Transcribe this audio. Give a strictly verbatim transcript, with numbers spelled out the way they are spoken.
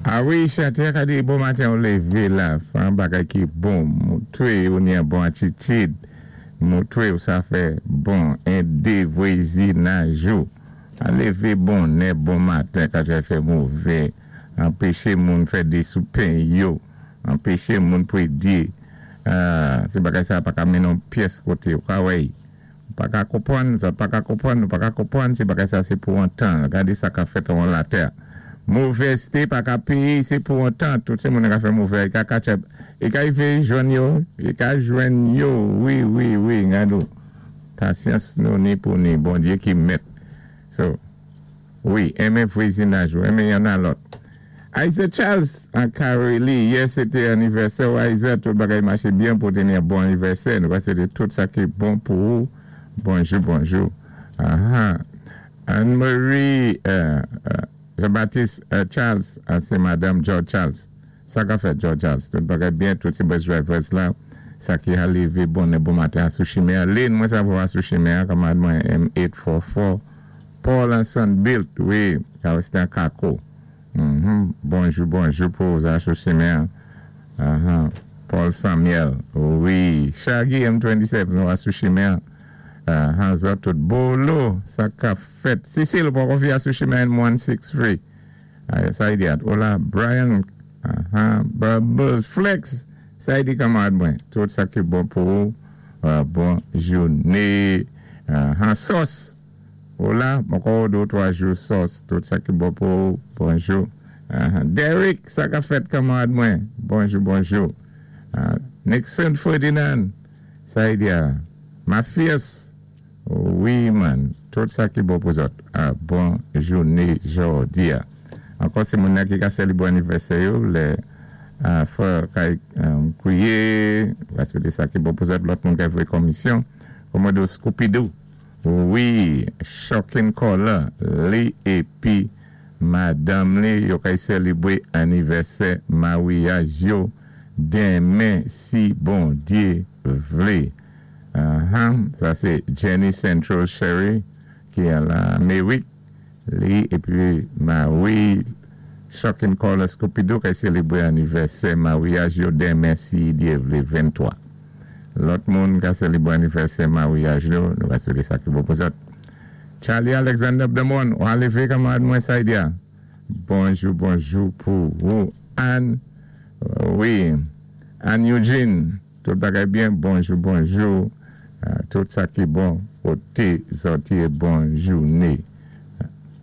A wi, chantè ka di bon maten ou lévé la, fè an bagay ki bon, moutwé ou ni an bon atitid, moutwé ou sa fè bon, édé vwazinaj ou. A lévé bonnè bon maten ka fè mové, anpéché moun fè dé sou pen yo, anpéché moun pwédi, sé bagay sa pa ka mennen pyès koté, ou ka wè. Pa ka konpwann, sa pa ka konpwann, ou pa ka konpwann, sé bagay sa sé pou an tan. Gadé sa ka fèt an latè. Movèzté pa ka péyé, sé pou an tan. Tout sé moun ka fè movè, i ka catch up. I ka fè jwenn yo, i ka jwenn yo. Wi, wi, wi, gadou. Pasyans nou ni pou ni, Bondyé ki mèt. So, wi, enmen vwazinaj ou, enmen youn a lòt. Isaac Charles an Kareli, yè sé té anivèsè ou Isaac, tout bagay maché byen pou téni bon anivèsè. Nou va swété tout sa ki bon pou ou. Bonjou, bonjou. Aha. Anne-Marie euh, euh, Jean-Baptiste euh, Charles, sé Madame George Charles. Sa ka fèt George Charles. Tout bagay byen, tout sé bus drivers la. Sa ki a lévé bon bon maten sou chimen. Lynn, mwen sa vo sou chimen, kanmarad mwen M eight four four. Paul and Son Built, wi, ka sé an Kako. Mm-hmm. Bonjou, bonjou pou sa sou chimen. Uh-huh. Paul Samuel, wi. Shaggy M twenty-seven, nou sou chimen. Uh, zòt tout bolo, sa ka fèt. Cecile, pou konfi sou chimen M one six three. Uh, sa i di at. Hola, Brian, uh-huh. Bubbles, Flex, sa i di kanmarad mwen. Tout sa ki bon pou ou. Uh, bon jouné. Uh, Sauce. Hola, ankò dé twa jou sauce. Tout sa ki bon pou ou. Bonjou. Uh, Derek, sa ka fèt kanmarad mwen. Bonjou, bonjou. Uh, Nixon Ferdinand, sa i di a. Matthias, wi man, tout sa ki bon pou zòt. Ah, bon jouné jòdi a. Ankò sé moun ki ka sélébwé anivèsè yo, lè uh, frè kay um, kwiyé, va swété sa ki bon pou zòt, lòt moun ki voyé komisyon, Komodo Scooby-Doo. Wi, Shocking Caller, li épi madanm li, yo kay sélébwé anivèsè maryaj yo denmen si Bondyé vlé. Uh-huh. Sa sé Jenny Central Sherry ki a Lamérik. Li épi mari Shocking Caller Scooby-Doo ki sélébwé anivèsè maryaj yo denmen si Dye vlé venntwa. Lòt moun ki sélébwé anivèsè maryaj yo, nou va swété sa ki bon pou zòt. Charlie Alexander Demon, ou lévé kanmarad mwen sa i di a. Bonjou, bonjou pou ou. Anne, wi, Anne Eugene, tout bagay byen, bonjou, bonjou. Uh, tout sa ki bon, koté zòt yé bon jouné.